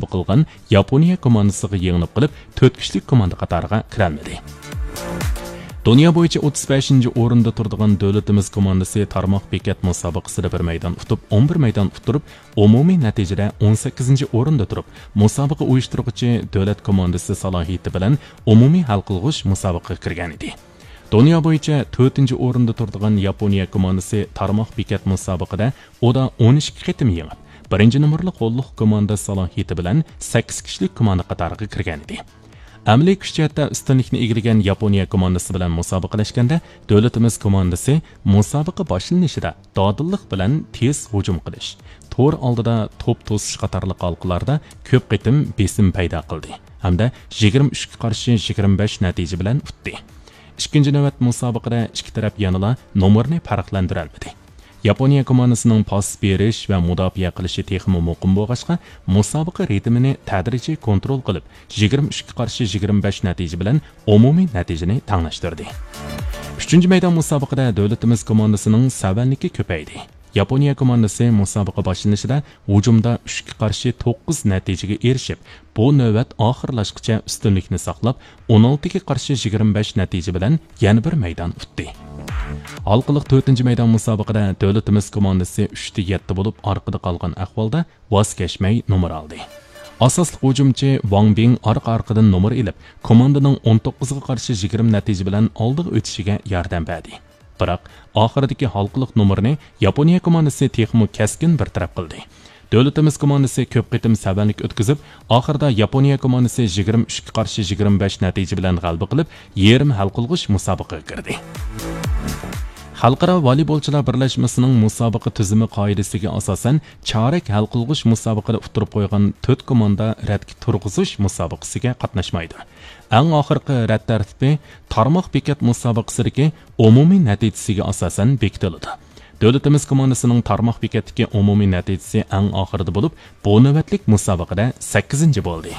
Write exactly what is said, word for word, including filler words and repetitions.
قىلغان ياپونىيە كوماندىسىغا يېڭىلىپ قېلىپ، تۆت كۈچلۈك كوماندا قاتارىغا كىرەلمىدى. دۇنيا بويىچە ئوتتۇز بەشىنچى ئورۇندا تۇرىدىغان دۆلىتىمىز كوماندىسى تارماق بېكەت مۇسابىقىسىدە بىر مەيدان ئۇتۇپ، ئون بىر مەيدان ئۇتتۇرۇپ، ئومۇمىي نەتىجىدە ئون سەككىزىنچى ئورۇندا تۇرۇپ، مۇسابىقە ئۇيۇشتۇرغۇچى دۆلەت كوماندىسى سالاھىيىتى بىلەن ئومۇمىي ھەل قىلغۇچ مۇسابىقىگە كىرگەنىدى. دۇنيا بويىچە تۆتىنچى ئورۇندا تۇرىدىغان ياپونىيە كوماندىسى تارماق بېكەت مۇسابىقىدە ئۇدا ئون ئىككى قېتىم يېڭىپ، بىرىنچى نومۇرلۇق غوللۇق كوماندا سالاھىيىتى بىلەن سەككىز كىشىلىك كوماندا قاتارىغا كىرگەنىدى. ئەمەلىي كۈچ جەھەتتە ئۈستۈنلۈكنى ئىگىلىگەن ياپونىيە كوماندىسى بىلەن مۇسابىقىلەشكەندە، دۆلىتىمىز كوماندىسى مۇسابىقە باشلىنىشىدا دادىللىق بىلەن تېز ھۇجۇم قىلىش، تور ئالدىدا توپ توسۇش قاتارلىق ھالقىلاردا كۆپ قېتىم بېسىم پەيدا قىلدى ھەمدە يىگىرمە ئۈچكە قارشى يىگىرمە بەش نەتىجە بىلەن ئۇتتى. ئىككىنچى نۆۋەت مۇسابىقىدە ئىككى تەرەپ يەنىلا نومۇرنى پەرقلەندۈرەلمىدى. ياپونىيە كوماندىسىنىڭ پاس بېرىش ۋە مۇداپىئە قىلىشى تېخىمۇ مۇقىم بولغاچقا، مۇسابىقە رىتىمىنى تەدرىجىي كونترول قىلىپ، يىگىرمە ئۈچكە قارشى يىگىرمە بەش نەتىجە بىلەن ئومۇمىي نەتىجىنى تەڭلەشتۈردى. ئۈچىنچى مەيدان مۇسابىقىدە دۆلىتىمىز كوماندىسىنىڭ سەۋەنلىكى كۆپەيدى. ياپونىيە كوماندىسى مۇسابىقە باشلىنىشىدا ھۇجۇمدا ئۈچكە قارشى توققۇز نەتىجىگە ئېرىشىپ، بۇ نۆۋەت ئاخىرلاشقىچە ئۈستۈنلۈكنى ساقلاپ، ئون ئالتىگە قارشى يىگىرمە بەش نەتىجە بىلەن يەنە بىر مەيدان ئۇتتى. ھالقىلىق تۆتىنچى مەيدان مۇسابىقىدە دۆلىتىمىز كوماندىسى ئۈچتە يەتتە بولۇپ، ئارقىدا قالغان ئەھۋالدا ۋاز كەچمەي نومۇر ئالدى. ئاساسلىق ھۇجۇمچى ۋاڭ بىڭ ئارقا-ئارقىدىن نومۇر ئېلىپ، كوماندىنىڭ ئون توققۇزغا قارشى يىگىرمە نەتىجە بىلەن ئالدىغا ئۆتۈشىگە ياردەم بەردى. بىراق، ئاخىرىدىكى ھالقىلىق نومۇرنى ياپونىيە كوماندىسى تېخىمۇ كەسكىن بىر تەرەپ قىلدى. دۆلىتىمىز كوماندىسى كۆپ قېتىم سەۋەنلىك ئۆتكۈزۈپ، ئاخىرىدا ياپونىيە كوماندىسى يىگىرمە ئۈچكە قارشى يىگىرمە بەش نەتىجە بىلەن غەلىبە قىلىپ، يېرىم ھەل قىلغۇچ مۇسابىقىگە كىردى. خەلقئارا ۋالىبولچىلار بىرلەشمىسىنىڭ مۇسابىقە تۈزۈمى قائىدىسىگە ئاساسەن، چارەك ھەل قىلغۇچ مۇسابىقىدە ئۇتتۇرۇپ قويغان تۆت كوماندا رەتكە تۇرغۇزۇش مۇسابىقىسىگە قاتناشمايدۇ. ئەڭ ئاخىرقى رەت تەرتىپى تارماق بېكەت مۇسابىقىسىدىكى ئومۇمىي نەتىجىسىگە ئاساسەن بېكىتىلىدۇ. دۆلىتىمىز كوماندىسىنىڭ تارماق بېكەتتىكى ئومۇمىي نەتىجىسى ئەڭ ئاخىرىدا بولۇپ، بۇ نۆۋەتلىك مۇسابىقىدە سەككىزىنچى بولدى.